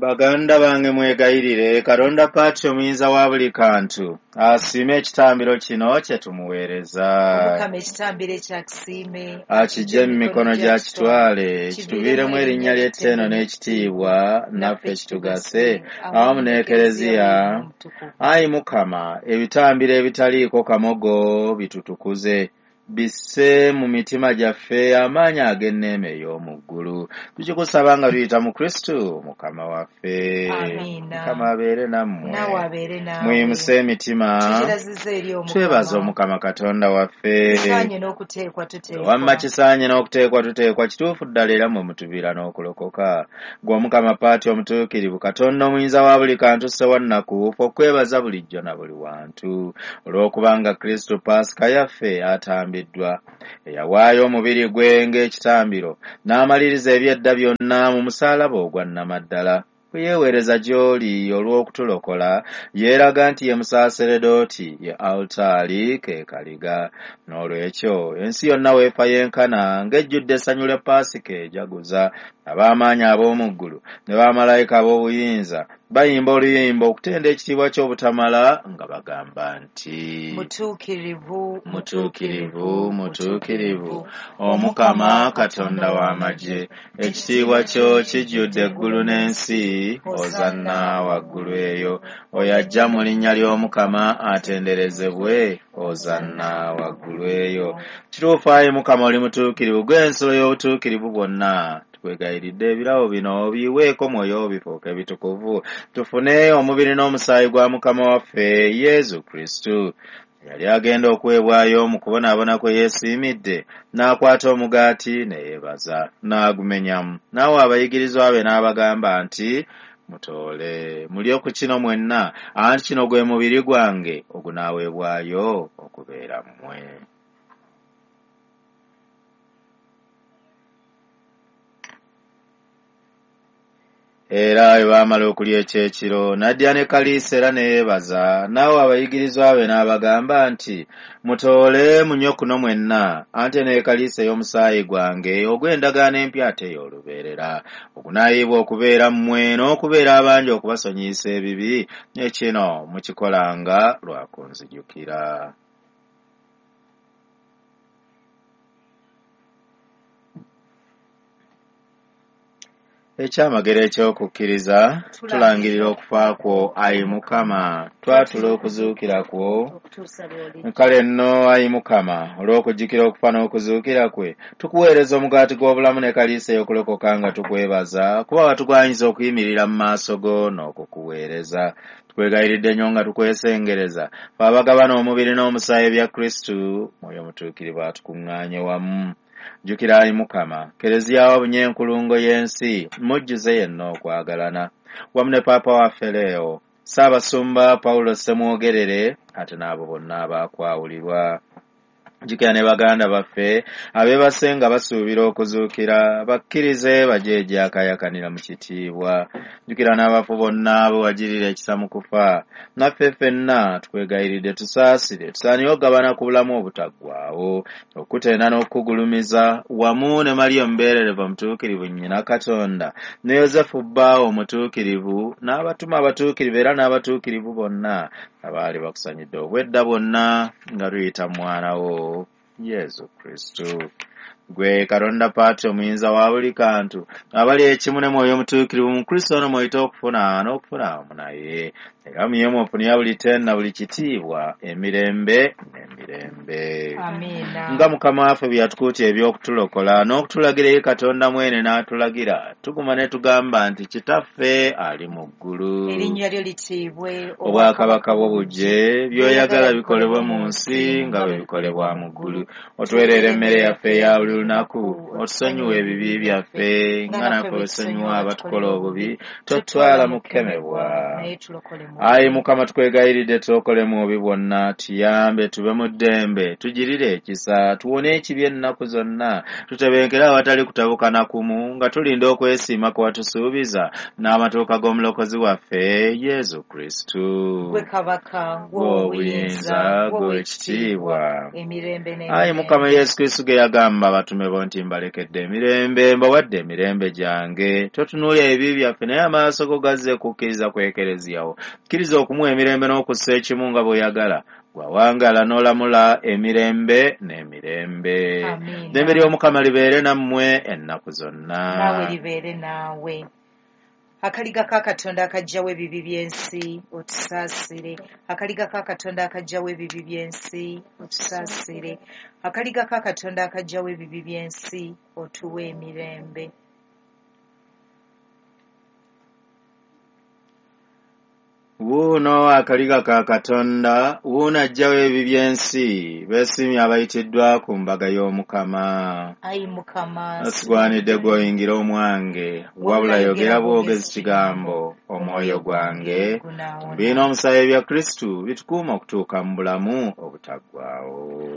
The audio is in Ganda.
Baganda bange, mwegayirire Katonda Paati omuyinza wa buli kantu asiime ekitambiro kino kye tumuweereza. Omukama ekitambiro ekyakisiime Akijje mu mikono gya kitwale, kituviiremu erinnya ly'ettendo n'ekitiibwa, naffe kitugase awamu n'Ekereziya. Ayi Mukama, ebitambiro ebitaliiko kamogo bitutukuze, bisse mu mitima gyaffe amaanyi ag'enneema ey'omu ggulu. Tukikusaba nga tuyita mu Kristu Mukama waffe. Amiina. Mukama abeere nammwe. Naawe abeere naawe. Muyimuse emitima. Tukiraziza eri Omukama. Twebaza Omukama Katonda waffe. Kisaanye n'okuteekwa tuteekwa. Wamma kisaanye n'okuteekwa tuteekwa, kituufu ddala era mmwe mutuviira n'okulokoka. Ggwe Omukama Paati omutuukirivu, Katonda omuyinza wa buli kantu, Ssewannaku, ffe okwebaza bulijjo na buli wantu. Olw'okubanga Kristu Paasika yaffe atambiddwa, eyawaayo omubiri gwe ng'ekitambiro, n'amaliriza eby'edda byonna mu musaalaba ogwa nnamaddala. Bwe yeeweereza gy'oli olw'okutulokola, yeeraga nti ye musaaseredooti, ye alutaari ke kaliga. Noolwekyo ensi yonna weefa yenkana ng'ejjudde essanyu lya Paasika ejaguza. Ab'amaanyi ab'omu ggulu ne bamalayika ab'obuyinza bayimba oluyimba okutenda ekitiibwa ky'obutamala nga bagamba nti: Mutuukirivu, Mutuukirivu, mutuukirivu, Omukama Katonda w'amagye, ekitiibwa kyo kijjudde eggulu n'ensi, Hozanna waggulu eyo. Oyo ajja mu linnya ly'Omukama atenderezebwe, Hozanna waggulu eyo. Kituufu ayi Mukama oli mutuukirivu, ggwe ensulo y'obutuukirivu bwonna. Tukwegayiridde ebirabo bino biweeko mwoyo bifuuke bitukuvu, tufune omubiri n'omusaayi gwa Mukama waffe Yesu Kristu. Yali agenda okuweebwayo mu kubonaabona kwe yeesiimidde, n'akwata omugaati ne yeebaza, n'agumenyamu, n'awa abayigirizwa be n'abagamba nti: Mutoole, mulye ku kino mwenna, anti kino gwe mubiri gwange ogunaaweebwayo okubeera mmwe. Era bwe baamala okulya ekyekiro, n'addira ne kaliisa era ne yeebaza, n'awa abayigirizwa be n'abagamba nti: Mutoole munywe kuno mwenna, anti eno ye kaliisa ey'omusaayi gwange ogw'endagaano empya ate ey'olubeerera, ogunaayiibwa okubeera mmwe n'okubeera abangi okubasonyiyisa ebibi, ne kino mukikolanga lwa kunzijukira. Ekyamagero eky'okukkiriza, tulangirira okufa kwo, ayi Mukama, twatula okuzuukira kwo. Okutuusa lw'olijja. Kale nno, ayi Mukama, olw'okujjukira okufa n'okuzuukira kwe, tukuweereza omugaati gw'obulamu ne kaliisa ey'okulokoka nga tukwebaza, kuba watugwanyiza okuyimirira mu maaso go n'okukuweereza. Tukwegayiridde nnyo nga tukwesengereza, ffe abagabana omubiri n'omusaayi bya Kristu, Mwoyo Mutuukirivu atukuŋŋaanye wamu. Jjukira ayi Mukama, Kereziya wabunye enkulungo y'ensi, mujjuze yenna okwagalana. Wamu ne Paapa waffe Leo, Ssaabasumba Pawulo Ssemwogerere, ate n'abo bonna abaakwawulirwa. Jjukira ne baganda baffe abeebase nga basuubira okuzuukira, bakkirize bajje egyakayakanira mu kitiibwa. Jjukira n'abafu bonna be wagirira ekisa mu kufa. Naffe ffenna tukwegayiridde tusaasire, tusaanire okugabana ku bulamu obutaggwaawo, okutenda n'okukugulumiza wamu ne Mariya omubeererevu omutuukirivu nnyina Katonda, ne Yozefu bbaawe omutuukirivu, n'abatume abatuukirivu era n'abatuukirivu bonna abaali bakusanyidde obwedda bwonna nga tuyita mu mwana wo Yesu Kristu. Gwe Katonda Paati omuyinza wa buli kantu, abali ekimu ne Mwoyo Omutuukirivu mu Kristo ono mw'oyita okufuna n'okufuna wamu naye. Era mu ye mw'ofunira buli ttendo na buli kitiibwa emirembe n'emirembe. Amiina. Nga Mukama waffe bwe yatukuutira eby'okutulokola n'okutulagira eri Katonda mwene n'atulagira, tuguma ne tugamba nti Kitaffe ali mu ggulu. Erinnya lyo litiibwe. Obwakabaka bwo bujje, by'oyagala bikolebwe mu nsi nga bwe bikolebwa mu ggulu. Otuweerere emmere yaffe eya buli lunaku, otusonyiwe ebibi byaffe nga naffe bwe tusonyiwa abatukola obubi, totutwala mu kukemebwa. Naye tulokole mu Ayi Mukama, tukwegayiridde tulokole mu bubi bwonna, tuyambe tube mu ddembe, tugirire ekisa, tuwone ekibi ennaku zonna, tutebenkere awatali kutabuka na kumu, nga tulinda okwesiima kwe watusuubiza n'amatuuka g'omulokozi waffe Yesu Kristu. Gwe kabaka, Gwe obuyinza, gwe ekitiibwa. emirembe Ayi Mukama n'emirembe. Yesu Kristu ge yagamba abatume bo nti mbalekedde emirembe, mbawadde emirembe gyange. Totunuulira ebibi byaffe, naye amaaso go gazze kukkiriza ku Ekereziya wo. Kkiriza okumuwa emirembe n'okussa ekimu nga bw'oyagala, gwawangaala n'olamula emirembe n'emirembe. Amiina. Ddembe ly'Omukama libeere nammwe ennaku zonna. Naawe libeere naawe. Akaliga ka Katonda akaggyawo ebibi by'ensi, otusaasire. Akaliga ka Katonda akaggyawo ebibi by'ensi, otusaasire. Akaliga ka Katonda akaggyawo ebibi by'ensi, otuwe emirembe. Wuuno akaliga ka Katonda, wuuno aggyawo ebibi by'ensi, beesiimye abayitiddwa ku mbaga y'Omukama. Ayi Mukama, Sigwanidde gw'oyingira omwange, wabula yogera bwogezi kigambo, omwoyo gwange gunaawona. Biina omusaayi bya Kristu bitukuuma okutuuka mu bulamu obutaggwaawo.